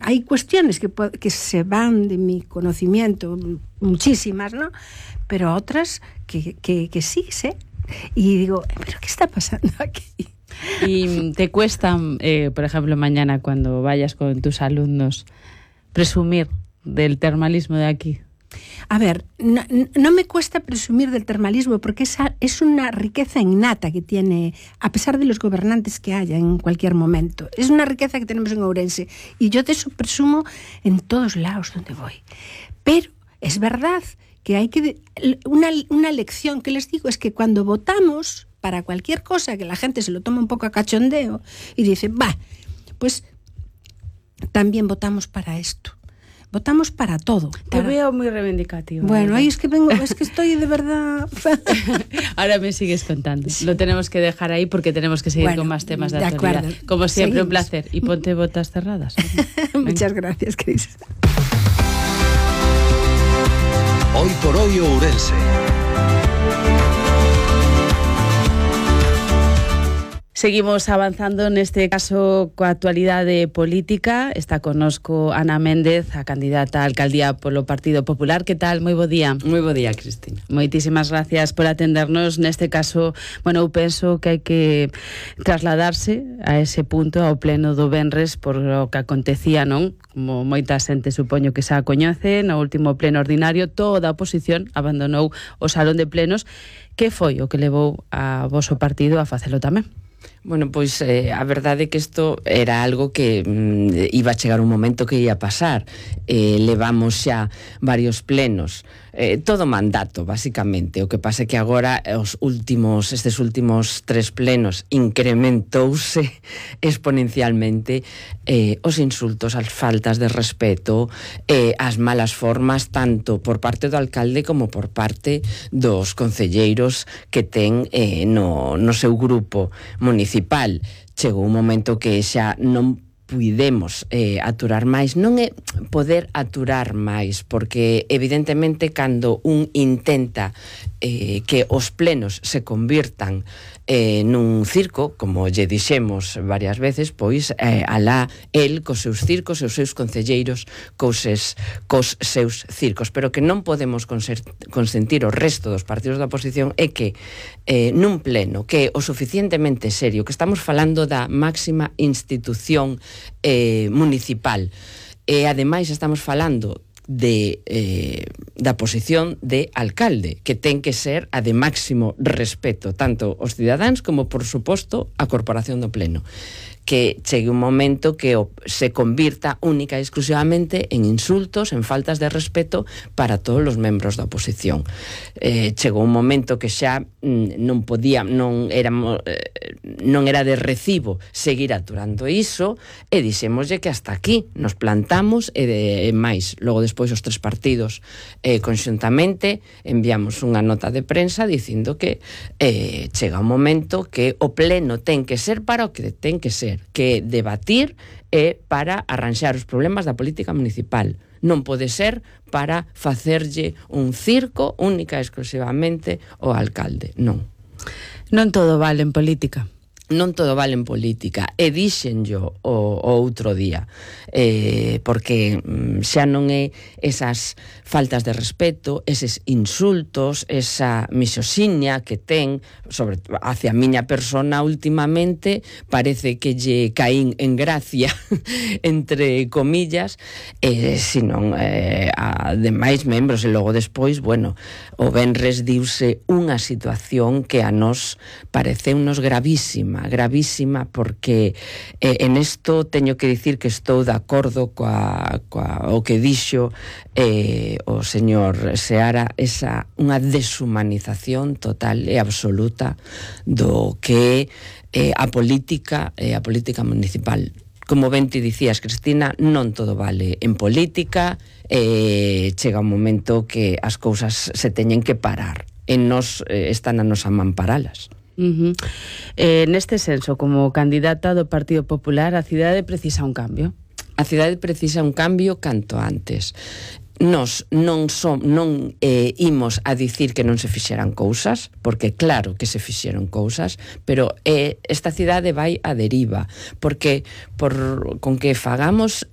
hay cuestiones que se van de mi conocimiento, muchísimas, ¿no? Pero otras que sí sé. Y digo, ¿pero qué está pasando aquí? ¿Y te cuesta, por ejemplo, mañana cuando vayas con tus alumnos, presumir del termalismo de aquí? A ver, no me cuesta presumir del termalismo porque es una riqueza innata que tiene, a pesar de los gobernantes que haya en cualquier momento. Es una riqueza que tenemos en Ourense y yo de eso presumo en todos lados donde voy. Pero es verdad que hay que... Una lección que les digo es que cuando votamos para cualquier cosa que la gente se lo toma un poco a cachondeo y dice, pues también votamos para esto. Votamos para todo. Te veo muy reivindicativo. Bueno, ahí es que estoy de verdad... Ahora me sigues contando. Sí. Lo tenemos que dejar ahí porque tenemos que seguir con más temas de actualidad. Acuerdo. Como siempre, seguimos. Un placer. Y ponte botas cerradas. Muchas gracias, Cris. Hoy por hoy Ourense. Seguimos avanzando neste caso coa actualidade política. Está connosco Ana Méndez, a candidata a alcaldía polo Partido Popular. Que tal? Moi bo día. Moi bo día, Cristina. Moitísimas gracias por atendernos. Neste caso, bueno, eu penso que hai que trasladarse a ese punto, ao pleno do venres, por o que acontecía, non? Como moita xente supoño que xa coñece, no último pleno ordinario, toda a oposición abandonou o salón de plenos. Que foi o que levou a voso partido a facelo tamén? Bueno, pois a verdade é que isto era algo que iba a chegar un momento que ia pasar. Levamos xa varios plenos, todo mandato, basicamente. O que pasa é que agora estes últimos 3 plenos incrementouse exponencialmente os insultos, as faltas de respeto, as malas formas, tanto por parte do alcalde como por parte dos concelleiros que ten no seu grupo municipal. Chegou un momento que xa non puidemos aturar máis. Non é poder aturar máis, porque evidentemente cando un intenta que os plenos se convirtan nun circo, como lle dixemos varias veces, pois alá el cos seus circos e os seus concelleiros cos seus circos, pero que non podemos consentir o resto dos partidos da oposición é que nun pleno que é o suficientemente serio, que estamos falando da máxima institución municipal e ademais estamos falando da posición de alcalde, que ten que ser a de máximo respeto tanto os cidadáns como, por suposto, a corporación do pleno, que chegue un momento que se convirta única e exclusivamente en insultos, en faltas de respeto para todos os membros da oposición. Chegou un momento que xa non era de recibo seguir aturando iso e dixémoslle que hasta aquí nos plantamos e máis. Logo despois os 3 partidos conxuntamente enviamos unha nota de prensa dicindo que chega un momento que o pleno ten que ser para o que ten que ser, que debatir é para arranxar os problemas da política municipal. Non pode ser para facerlle un circo única e exclusivamente ao alcalde. Non. Non todo vale en política. Non todo vale en política, e díxenllo o outro día, porque xa non é esas faltas de respeto, eses insultos, esa misoxinia que ten sobre hacia a miña persona últimamente, parece que lle caín en gracia entre comillas, senón a demais membros. E logo despois, bueno, o venres diuse unha situación que a nos pareceunos gravísima, porque en isto teño que dicir que estou de acordo coa o que dixo o señor Seara, unha deshumanización total e absoluta do que é a política municipal. Como ben ti dicías, Cristina, non todo vale en política, chega un momento que as cousas se teñen que parar e nos están a nosa man paralas. Neste senso, como candidata do Partido Popular, a cidade precisa un cambio? A cidade precisa un cambio canto antes. Nos non imos a dicir que non se fixeran cousas, porque claro que se fixeron cousas, pero esta cidade vai a deriva, porque con que fagamos